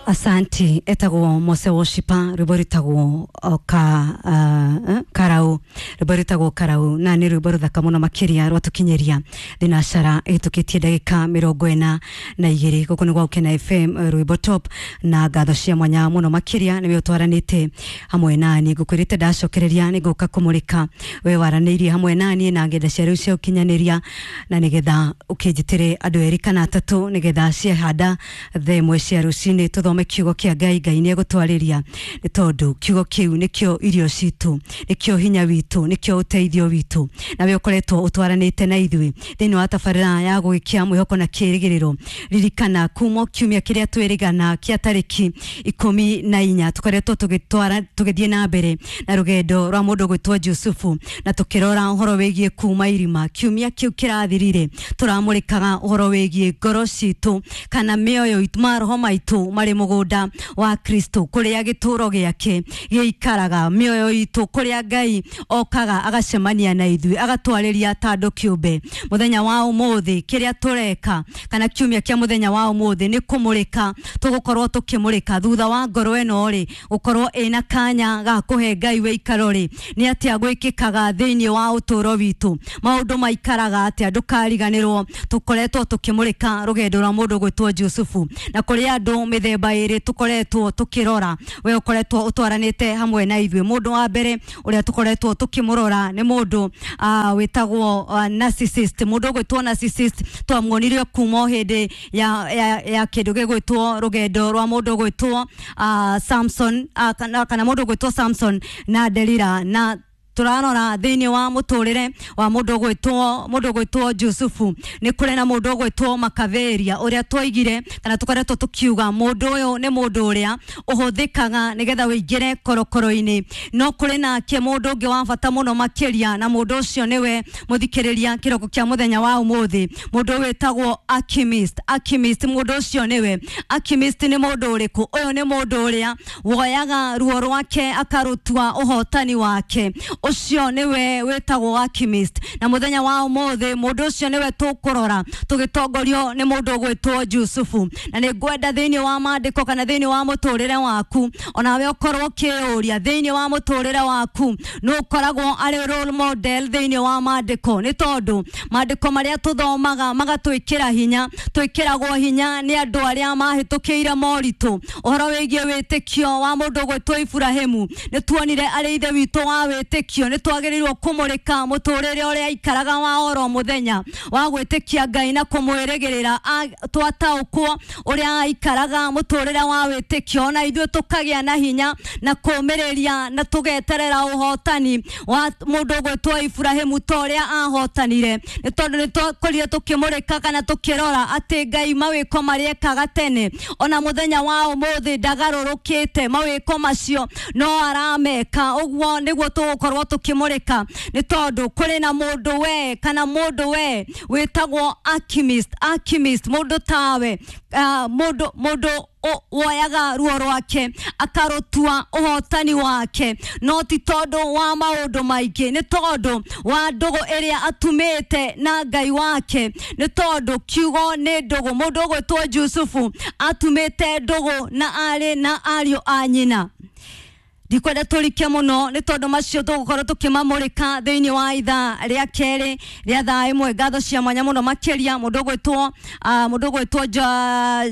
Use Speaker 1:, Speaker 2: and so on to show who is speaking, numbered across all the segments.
Speaker 1: Asanti. Etagwo Mose Worshiper, rwimbo rwitagwo ka karau, rwimbo rwitagwo Karau, na nĩ rwimbo rũthaka mũno makĩria rwatũkinyĩria thinacara ĩhĩtũkĩtie ndagĩka 42. Gũkũ nĩ gwa Gũkena FM, rwimbo top, na ngatho cia mwanya mũno makĩria nĩwe ũtwaranĩte hamwe nani. Ngũkwĩrĩte ndacokereria nĩ ngũka kũmũrĩka we waranĩirie hamwe nani na ngenda cia rĩu cia ũkinyanĩria, na nĩgetha ũkĩnjĩtĩre andũ erĩ kana atatũ, nĩgetha ciehanda thaa 1 cia rũcinĩ tũthome kiugo kĩa Ngai. Ngai nĩ egũtwarĩria, nĩ tondũ kiugo kĩu nĩkĩo irio citũ, nĩkĩo hinya witũ, nĩkĩo ũteithio witũ. Na we ũkoretwo ũtwaranĩte na ithuĩ thĩinĩ wa tabarĩra ya gũgĩkia mwĩhoko na kĩĩrĩgĩrĩro, ririkana kuma kiumia kĩrĩa twĩrĩgana kĩa tarĩki 14 tũkoretwo tũgĩtwara tũgĩthiĩ na mbere na rũgendo rwa mũndũ gwĩtwo Jusufu, na tũkĩrora ũhoro wĩgiĩ kuma irima. Kiumia kĩu kĩrathirire tũramũrĩkaga ũhoro wĩgiĩ ngoro citũ kana mĩoyo itũ, maroho maitũ marĩ mũgũnda wa Kristo, kũrĩa gĩtũro gĩake gĩikaraga, mĩoyo itũ kũrĩa Ngai okaga agacemania na ithuĩ, agatwarĩria ta andũ kĩũmbe. Mũthenya wa ũmũthĩ kĩrĩa tũreka, kana kiumia kĩa mũthenya wa ũmũthĩ, nĩ kũmũrĩka tũgũkorwo tũkĩmũrĩka thutha wa ngoro ĩno rĩ gũkorwo ĩna kanya ga kũhe Ngai wĩikaro rĩ, nĩ atĩa gwĩkĩkaga thĩinĩ wa ũtũũro witũ, maũndũ maikaraga atĩa? Ndũkariganĩrwo tũkoretwo tũkĩmũrĩka rũgendo rwa mũndũ gwĩtwo Jusufu, na kũrĩ andũ mĩthemba ĩrĩ tũkoretwo tũkĩrora. We ũkoretwo ũtwaranĩte hamwe na ithuĩ, mũndũ wa mbere ũrĩa tũkoretwo tũkĩmũrora nĩ mũndũ wĩtagwo narcissist. Mũndũ ũgwĩtwo narcissist twamuonire kuma o hĩndĩ ya kĩndũ gĩgwĩtwo rũgendo rwa mũndũ ũgwĩtwo Samson, kana mũndũ ũgwĩtwo Samson na Delila, na turarora thĩinĩ wa mũtũrĩre wa mũndũ ũgwĩtwo Jusufu. Nĩ kũrĩ na mũndũ ũgwĩtwo Makaveria, ũrĩa twaigire kana tũkoretwo tũkiuga mũndũ ũyũ nĩ mũndũ ũrĩa ũhũthĩkaga nĩgetha wĩingĩre korokoro-inĩ. No kũrĩ nake mũndũ ũngĩ wa bata mũno makĩria, na mũndũ ũcio nĩwe mũthikĩrĩria kĩroko kĩa mũthenya wa ũmũthĩ, mũndũ wĩtagwo alchemist. Alchemist, mũndũ ũcio nĩwe. Alchemist nĩ mũndũ ũrĩkũ? Ũyũ nĩ mũndũ ũrĩa woyaga ruo rwake akarũtua ũhotani wake. Ũcio nĩwe wĩtagwo alchemist, na mũthenya wa ũmũthĩ mũndũ ũcio nĩwe tũkũrora tũgĩtongorio nĩ mũndũ ũgwĩtwo Jusufu. Na nĩ ngwenda thĩinĩ wa maandĩko kana thĩinĩ wa mũtũrĩre waku onawe ũkorwo ũkĩũria, thĩinĩ wa mũtũrĩre waku nũ ũkoragwo arĩ role model thĩinĩ wa maandĩko? Nĩ tondũ maandĩko marĩa tũthomaga magatwĩkĩra hinya, twĩkĩragwo hinya nĩ andũ arĩa mahĩtũkĩire moritũ. Ũhoro wĩgiĩ wĩtĩkio wa mũndũ ũgwĩtwo Iburahĩmu, nĩ tuonire arĩ ithe witũ wa wĩtĩkio. Nĩ twagĩrĩirwo kũmũrĩka mũtũrĩre ũrĩa aikaraga wa oro mũthenya wa gwĩtĩkia Ngai na kũmwĩrĩgĩrĩra. Twataũkwo ũrĩa aikaraga mũtũrĩre wa wĩtĩkio, ona ithuĩ tũkagĩa na hinya na kũmĩrĩria na tũgeterera ũhotani wa mũndũ ũgwĩtwo Iburahĩmu ta ũrĩa ahotanire, nĩ tondũ nĩ twakorire tũkĩmũrĩka kana tũkĩrora atĩ Ngai mawĩko marĩa ekaga tene, ona mũthenya wa ũmũthĩ ndagarũrũkĩte, mawĩko macio no arameka. Ũguo nĩguo tũgũkorwo tũkĩmũrĩka, nĩ tondũ kũrĩ na mũndũ we kana mũndũ we wĩtagwo alchemist. Alchemist, mũndũ tawe, mũndũ woyaga ruo rwake akarũtua ũhotani wake, no ti tondũ wa maũndũ maingĩ, nĩ tondũ wa ndũgũ ĩrĩa atumĩte na Ngai wake, nĩ tondũ kiugo nĩ ndũgũ. Mũndũ ũgwĩtwo Jusufu atumĩte ndũgũ na arĩ na ariũ a nyina. Ndikwenda tũrike mũno, nĩ tondũ macio tũgũkorwo tũkĩmamũrĩka thĩinĩ wa ithaa rĩa kerĩ rĩa thaa 1. Ngatho cia mwanya mũno makĩria mũndũ ũgwĩtwo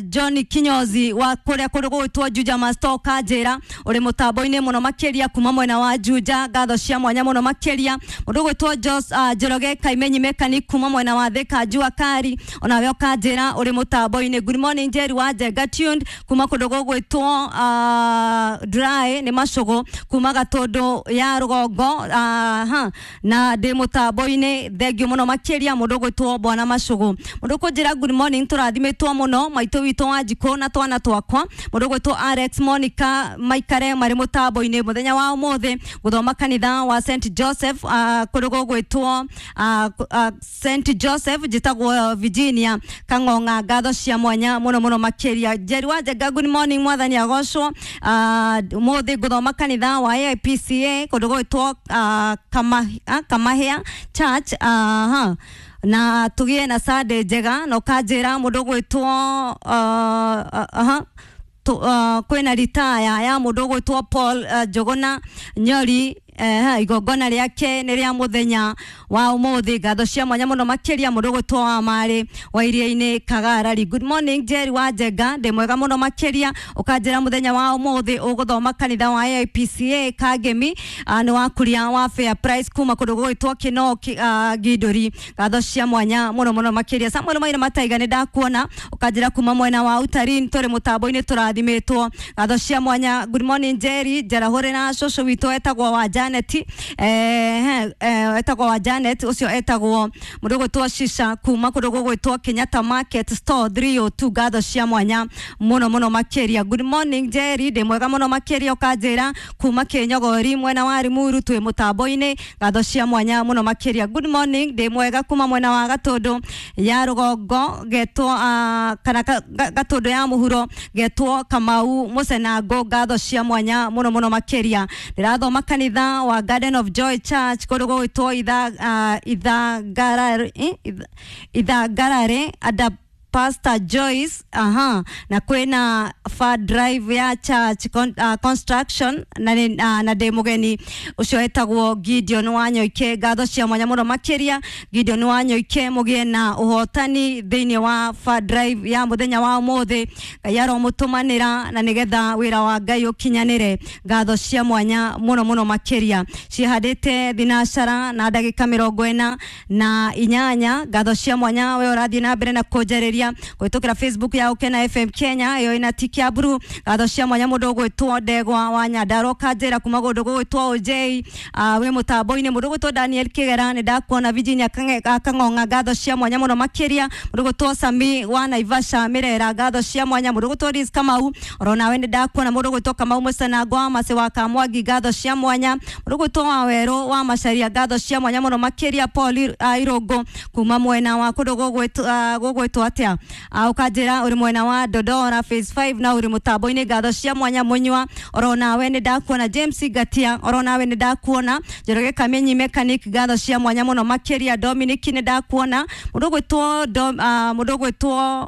Speaker 1: John Kinyozi wa kũrĩa kũndũ gũgwĩtwo Juja Masto Kanjĩra, ũrĩ mũtambo-inĩ mũno makĩria kuma mwena wa Juja. Ngatho cia mwanya mũno makĩria mũndũ ũgwĩtwo Njoroge Kaimenyi Mekani kuma mwena wa Thika Jua Kari, onawe ũkanjĩra ũrĩ mũtambo-inĩ. Good morning, Jerry wa Njenga, tuned kuma kũndũ gũgwĩtwo Dry, nĩ Macũgũ kuma Gatũndũ ya rũgongo, ha, na ndĩ mũtambo-inĩ. Thengiũ mũno makĩria mũndũ ũgwĩtwo Bwana Macũgũ. Mũndũ ũkũnjĩra good morning, tũrathimĩtwo mũno, maitũ witũ wa njikũ na twana twakwa, mũndũ ũgwĩtwo Alex Monica, maikare marĩ mũtambo-inĩ mũthenya wa ũmũthĩ gũthoma kanitha wa St Joseph, kũndũ gũgwĩtwo St Joseph. Njĩtagwo Virginia Kang'ong'a. Ngatho cia mwanya mũno mũno makĩria. Jerry wa Njenga, good morning, mwathani agocwo. Ũmũthĩ ngũthoma kanitha wa AIPCA kũndũ gũgwĩtwo Kamahĩa Church, ha, na tũgĩe na Sunday njega. Na ũkanjĩra mũndũ ũgwĩtwo aha. Kwina ritaya ya mundu ugwitwo Paul Njuguna Nyori. Igongona riake nĩ rĩa mũthenya wa ũmũthĩ. Ngatho cia mwanya mũno makĩria mũndũ ũgwĩtwo wa marĩ wa iria-inĩ Kagarari. Good morning Jerry wa Njenga, ndĩ mwega mũno makĩria. Ũkanjĩra mũthenya wa ũmũthĩ ũgũthoma kanitha wa AIPCA Kangemi, nĩ wakuria wa Fair Price kuma kũndũ gũgwĩtwo Kĩno Gindũri. Ngatho cia mwanya mũno mũno makĩria. Samuel Maina Mataiga, nĩ ndakuona, ũkanjĩra kuma mwena wa Utarin tũrĩ mũtambo-inĩ tũrathimĩtwo. Ngatho cia mwanya. Good morning Jerry, njarahũre na cũcũ witũ etagwo wa Janet, etagwo wa Janet ucio etagwo mundu gwitwo Shisha kuma kundu gugwitwo Kenyatta Market Store 302. Ngatho cia mwanya muno muno makiria. Good morning Jerry, ndi mwega muno makiria. Ukanjira kuma Kinyogori mwena wa Limuru twi mutambo-ini. Ngatho cia mwanya muno makiria. Good morning, ndi mwega kuma mwena wa Gatundu ya rugongo getwo kana Gatundu ya muhuro getwo Kamau Mucenango. Ngatho cia mwanya muno muno makiria. Ndirathoma kanitha wa Garden of Joy Church kundu gugwitwo Ithangarare ada Pastor Joyce, aha, na kwina far drive ya church construction na ndĩ mũgeni ũcio etagwo Gideon Wanyoike. Ngatho cia mwanya mũno makĩria Gideon Wanyoike, mũgĩe na ũhotani thĩinĩ wa far drive ya mũthenya wa ũmũthĩ. Ngai aromũtũmanĩra na nĩgetha wĩra wa Ngai ũkinyanĩre. Ngatho cia mwanya mũno mũno makĩria. Cihandĩte thinacara na ndagĩka 48. Ngatho cia mwanya we ũrathiĩ na mbere na kũnjarĩria kũhĩtũkĩra Facebook ya Ukena FM Kenya iyo ina tiki ya blue. Ngatho cia mwanya mũndũ ũgwĩtwo Ndegwa wa Nyandarua kanjĩra kuma kũndũ gũgwĩtwo OJ, wĩ mũtambo-inĩ. Mũndũ ũgwĩtwo Daniel Kĩgera, nĩ ndakuona. Virginia Kang'ong'a, ngatho cia mwanya mũno makĩria. Mũndũ ũgwĩtwo Sami wa Naivasha Mirera, ngatho cia mwanya. Mũndũ ũgwĩtwo Liz Kamau, oro nawe nĩ ndakuona. Mũndũ ũgwĩtwo Kamau Mũcanango wa Macĩ wa Kamwangi, ngatho cia mwanya. Mũndũ ũgwĩtwo wa Werũ wa Macharia, ngatho cia mwanya mũno makĩria. Paul Irũngũ kuma mwena wa kũndũ gũgwĩtwo atĩa, ukanjĩra ũrĩ mwena wa Dodora phase 5 na ũrĩ mũtambo-inĩ. Ngatho cia mwanya. Mũnyua, oro nawe nĩ ndakuona. James Ngatia, oro nawe nĩ ndakuona. Njoroge Kamenyi mechanic, ngatho cia mwanya mũno makĩria. Dominic, nĩ ndakuona. Mũndũ ũgwĩtwo mũndũ ũgwĩtwo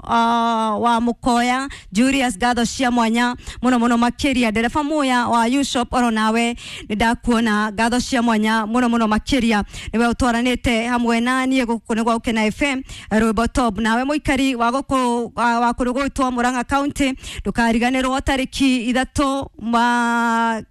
Speaker 1: wa Mũkoya Julius, ngatho cia mwanya mũno mũno makĩria. Ndereba Muya wa U-Shop, oro nawe nĩ ndakuona. Ngatho cia mwanya mũno mũno makĩria. Nĩwe ũtwaranĩte hamwe na niĩ gũkũ nĩ gwa Ukena FM Rwĩmbo Top. Nawe mũikari wa gũkũ wa kũndũ gũgwĩtwo Murang'a County, ndũkariganĩrwo tarĩki 3 ma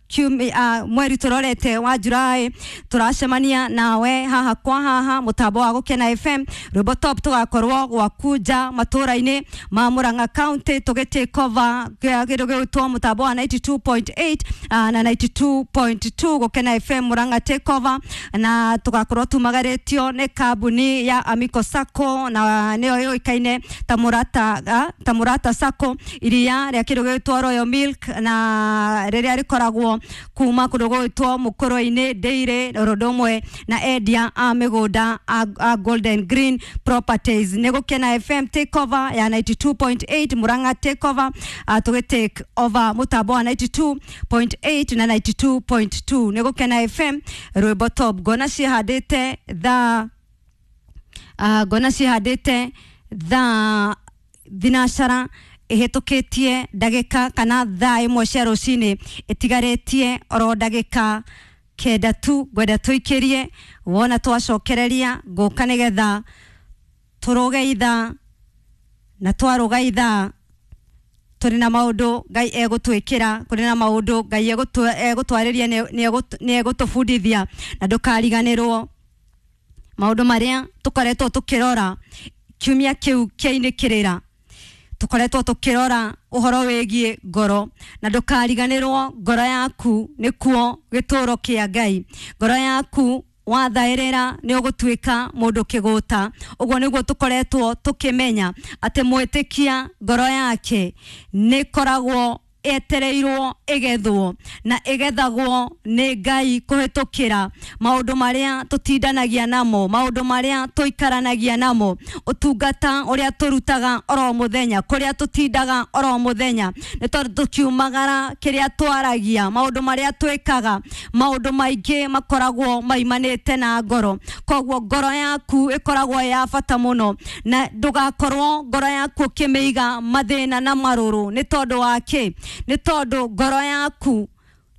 Speaker 1: mweri tũrorete wa Julai tũracemania nawe haha kwa haha mũtambo wa Gũkena FM Rwĩmbo Top. Tũgakorwo gwaku nja matũra-inĩ ma Murang'a County tũgĩ take over kĩndũ gĩgwĩtwo mũtambo wa 92.8 na 92.2 Gũkena FM Murang'a take over, na tũgakorwo tumagarĩtio nĩ kambuni ya Amico Sacco na nĩyo yũĩkaine ta Murata, ta Murata Sacco, iria rĩa kĩndũ gĩgwĩtwo Royal Milk na rĩrĩa rĩkoragwo kuma kũndũ gũgwĩtwo Mũkũrwe-inĩ Dairy, ũndũ ũmwe na endia a mĩgũnda a Golden Green Properties. Nĩ Gũkena FM take over ya 92.8 Murang'a take over, tũgĩ take over mũtambo wa 92.8 na 92.2. Nĩ Gũkena FM Rwĩmbo Top. Ngona cihandĩte thaa ngona cihandĩte thaa thinacara ihĩtũkĩtie ndagĩka kana thaa 1 cia rũcinĩ ĩtigarĩtie oro ndagĩka 9 tu. Ngwenda tũikĩrie wona twacokereria ngũka nĩgetha tũrũge ithaa, na twarũga ithaa tũrĩ na maũndũ Ngai egũtwĩkĩra, kũrĩ na maũndũ Ngai egũtwarĩria, nĩ egũtũbundithia. Na ndũkariganĩrwo maũndũ marĩa tũkoretwo tũkĩrora kiumia kĩu kĩainĩkĩrĩra, tũkoretwo tũkĩrora ũhoro wĩgiĩ ngoro. Na ndũkariganĩrwo ngoro yaku nĩkuo gĩtũro kĩa Ngai. Ngoro yaku wathaĩrĩra nĩ ũgũtuĩka mũndũ kĩgũta. Ũguo nĩguo tũkoretwo tũkĩmenya atĩ mwĩtĩkia ngoro yake nĩ ĩkoragwo Etereirwo ĩgethwo na ĩgethagwo nĩ Ngai kũhĩtũkĩra maũndũ marĩa tũtindanagia namo, maũndũ marĩa tũikaranagia namo, ũtungata ũrĩa tũrutaga oro mũthenya, kũrĩa tũtindaga oro mũthenya, nĩ tondũ tũkiumagara kĩrĩa twaragia, maũndũ marĩa twĩkaga, maũndũ maingĩ makoragwo maimanĩte na ngoro. Koguo ngoro yaku ĩkoragwo ĩ ya bata mũno, na ndũgakorwo ngoro yaku ũkĩmĩiga mathĩna na marũrũ. Nĩ tondũ wa kĩ? Nĩ tondũ ngoro yaku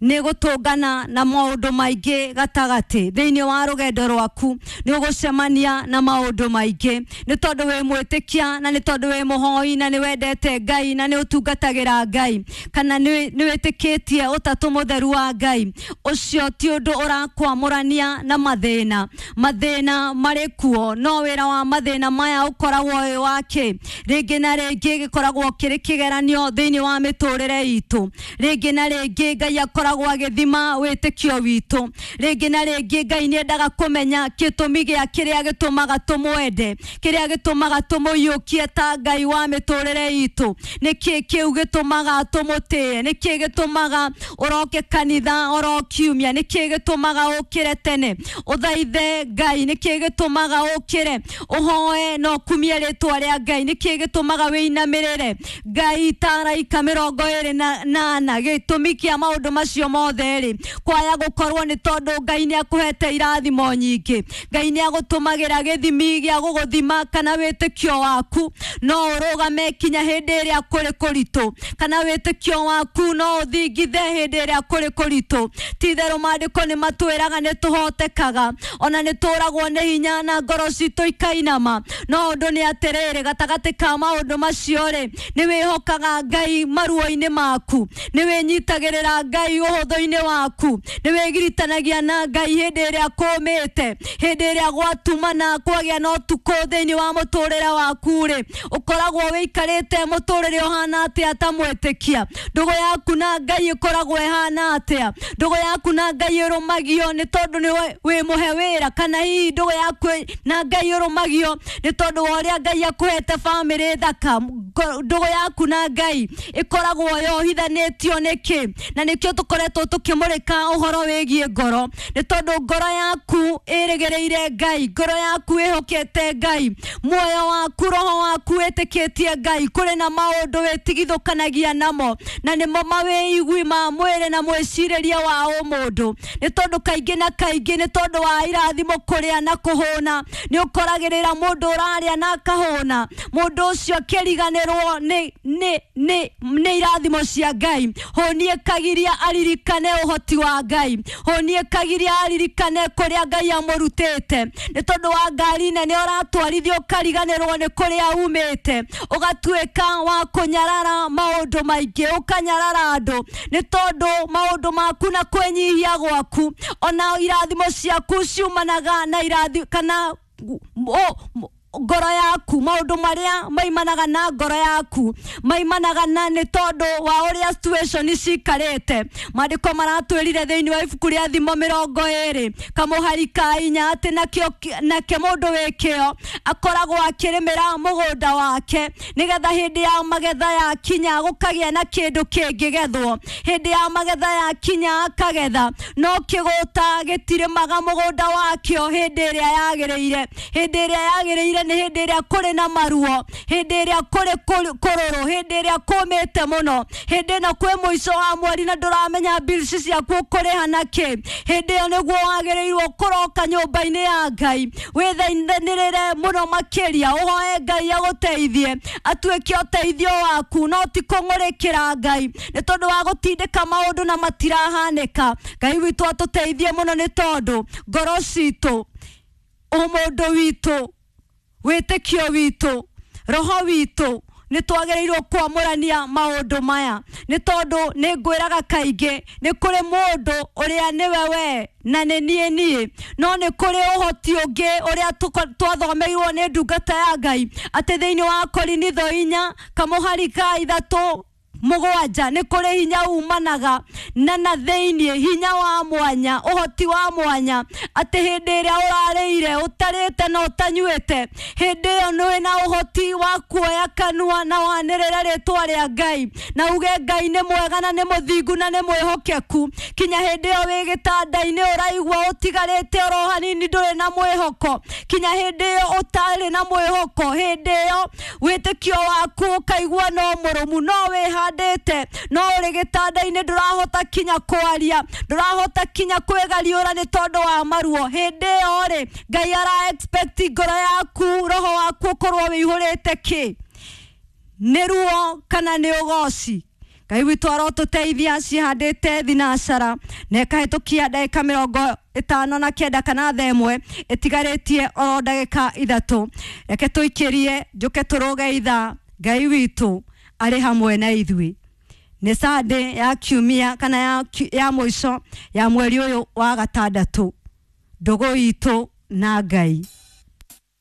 Speaker 1: nĩ gũtũngana na maũndũ maingĩ gatagatĩ thĩinĩ wa rũgendo rwaku. Nĩ ũgũcemania na maũndũ maingĩ nĩ tondũ wĩ mwĩtĩkia, na nĩ tondũ wĩ mũhoi, na nĩ wendete Ngai, na nĩ ũtungatagĩra Ngai, kana nĩ wĩtĩkĩtie ũtatũ mũtheru wa Ngai. Ũcio ti ũndũ ũrakwamũrania na mathĩna. Mathĩna marĩ kuo, no wĩra wa mathĩna maya ũkoragwo wĩ wa kĩ? Rĩngĩ na rĩngĩ gĩkoragwo kĩrĩ kĩgeranio thĩinĩ wa mĩtũrĩre itũ. Rĩngĩ na rĩngĩ Ngai akoragwo agĩthima wĩtĩkio witũ. Rĩngĩ na rĩngĩ Ngai nĩ endaga kũmenya gĩtũmi gĩa kĩrĩa gĩtũmaga tũmwende, kĩrĩa gĩtũmaga tũmũiyũkie ta Ngai wa mĩtũrĩre itũ. Nĩkĩ kĩu gĩtũmaga tũmũtĩe? Nĩkĩ gĩtũmaga ũroke kanitha oro kiumia? Nĩkĩ gĩtũmaga ũkĩre tene ũthaithe Ngai? Nĩkĩ gĩtũmaga ũkĩre ũhoe na ũkumie rĩtwa rĩa Ngai? Nĩkĩ gĩtũmaga wĩinamĩrĩre Ngai ta araika 24? Gĩtũmi kĩa maũndũ macio mothe rĩ, kwaya gũkorwo nĩ tondũ Ngai nĩ akũhete irathimo nyingĩ. Ngai nĩ agũtũmagĩra gĩthimi gĩa gũgũthima kana wĩtĩkio waku no ũrũgame kinya hĩndĩ ĩrĩa kũrĩ kũritũ, kana wĩtĩkio waku no ũthingithe hĩndĩ ĩrĩa kũrĩ kũritũ. Ti-itherũ maandĩko nĩ matwĩraga nĩ tũhotekaga, ona nĩ tũragwo nĩ hinya na ngoro citũ ikainama. No ũndũ nĩ atĩrĩrĩ, gatagatĩ ka maũndũ macio rĩ, nĩ wĩhokaga Ngai maruo-inĩ maku, nĩ wĩnyitagĩrĩra Ngai ũhũthũ-inĩ waku, nĩ wĩgiritanagia na Ngai hĩndĩ ĩrĩa kũmĩte, hĩndĩ ĩrĩa gwatumana kwagĩa na ũtukũ thĩinĩ wa mũtũrĩre waku rĩ, ũkoragwo wĩikarĩte mũtũrĩre ũhana atĩa ta mwĩtĩkia? Ndũgũ yaku na Ngai ĩkoragwo ĩhana atĩa? Ndũgũ yaku na Ngai ĩrũmagio nĩ tondũ nĩ wĩ mũhe wĩra, kana hihi ndũgũ yaku na Ngai ĩrũmagio nĩ tondũ wa ũrĩa Ngai akũhete bamĩrĩ thaka? Ndũgũ yaku na Ngai ĩkoragwo yohithanĩtio nĩkĩ? Na nĩkĩo tũkoretwo tũkĩmũrĩka ũhoro wĩgiĩ ngoro, nĩ tondũ ngoro yaku ĩrĩgĩrĩire Ngai, ngoro yaku ĩhokete Ngai, muoyo waku, roho waku wĩtĩkĩtie Ngai. Kũrĩ na maũndũ wĩtigithũkanagia namo, na nĩmo mawĩigui ma mwĩrĩ na mwĩcirĩrie wa ũmũndũ. Nĩ tondũ kaingĩ na kaingĩ, nĩ tondũ wa irathimo kũrĩa na kũhũna, nĩ ũkoragĩrĩra mũndũ ũrarĩa na akahũna, mũndũ ũcio akĩriganĩrwo nĩ irathimo cia Ngai. Hũnie kagiria aririkane ũhoti wa Ngai, hũnie kagiria aririkane kũrĩa Ngai amũrutĩte. Nĩ tondũ wa ngari nene ũratwarithia ũkariganĩrwo nĩ kũrĩa umĩte, ũgatuĩka wa kũnyarara maũndũ maingĩ, ũkanyarara andũ nĩ tondũ maũndũ maku na kwĩnyihia gwaku, ona irathimo ciaku ciumanaga na irathi kana ngoro yaku. Maũndũ marĩa maimanaga na ngoro yaku maimanaga na nĩ tondũ wa ũrĩa situation cikarĩte. Maandĩko maratwĩrire thĩinĩ wa ibuku rĩa Thimo 20 kamũhari ka 4 atĩ nake mũndũ wĩ kĩo akoragwo akĩrĩmĩra mũgũnda wake, nĩgetha hĩndĩ ya magetha yakinya gũkagĩa na kĩndũ kĩngĩgethwo. Hĩndĩ ya magetha yakinya akagetha, no kĩgũta gĩtirĩmaga mũgũnda wakĩo hĩndĩ ĩrĩa yagĩrĩire. Hĩndĩ ĩrĩa yagĩrĩire nĩ hĩndĩ ĩrĩa kũrĩ na maruo, hĩndĩ ĩrĩa kũrĩ kũrũrũ, hĩndĩ ĩrĩa kũmĩte mũno, hĩndĩ ĩno kwĩ mũico wa mweri na ndũramenya bills ciaku ũkũrĩha na kĩ. Hĩndĩ ĩyo nĩguo wagĩrĩirwo kũroka nyũmba-inĩ ya Ngai, wĩthaithanĩrĩre mũno makĩria, ũhoe Ngai agũteithie, atuĩke ũteithio waku, no ti kũng'ũrĩkĩra Ngai nĩ tondũ wa gũtindĩka maũndũ na matirahanĩka. Ngai witũ atũteithie mũno, nĩ tondũ ngoro citũ, ũmũndũ witũ, wĩtĩkio witũ, roho witũ, nĩ twagĩrĩirwo kwamũrania maũndũ maya. Nĩ tondũ nĩ ngwĩraga kaingĩ, nĩ kũrĩ mũndũ ũrĩa nĩwe we na nĩ niĩ, no nĩ kũrĩ ũhoti ũngĩ ũrĩa twathomeirwo nĩ ndungata ya Ngai atĩ thĩinĩ wa Korinitho 4 kamũhari ka 3 Mũgwanja nĩ kũrĩ hinya umanaga na thĩiniĩ, hinya wa mwanya, ũhoti wa mwanya, atĩ hĩndĩ ĩrĩa ũrarĩire ũtarĩte na ũtanyuĩte, hĩndĩ ĩyo nĩ na ũhoti wa kuoya kanua na wanĩrĩre rĩtwa rĩa Ngai na uge Ngai nĩ mwega na nĩ mũthingu na nĩ mwĩhokeku. Kinya hĩndĩ ĩyo wĩ gĩtanda-inĩ ũraigua ũtigarĩte oro hanini, ndũrĩ na mwĩhoko, kinya hĩndĩ ĩyo ũtarĩ na mwĩhoko, hĩndĩ ĩyo wĩtĩkio waku ũkaigua no mũrũmu, no wĩhandĩte, no ũrĩ gĩtanda-inĩ, ndũrahota kinya kwaria, ndũrahota kinya kwĩgariũra nĩ tondũ wa maruo. Hĩndĩ ĩyo rĩ, Ngai ara expect ngoro yaku, roho waku ũkorwo wĩihũrĩte kĩ? Nĩ ruo kana nĩ ũgoci? Ngai witũ arotũteithia. Cihandĩte thinacara na ĩkahĩtũkia ndagĩka 59 kana 1:00, ĩtigarĩtie oro ndagĩka 3. Reke tũikĩrie njũke tũrũge ithaa. Ngai witũ arĩ hamwe na ithuĩ. Nĩ Sunday ya kiumia kana ya mũico ya mweri ũyũ wa gatandatũ. Ndũgũ itũ na Ngai.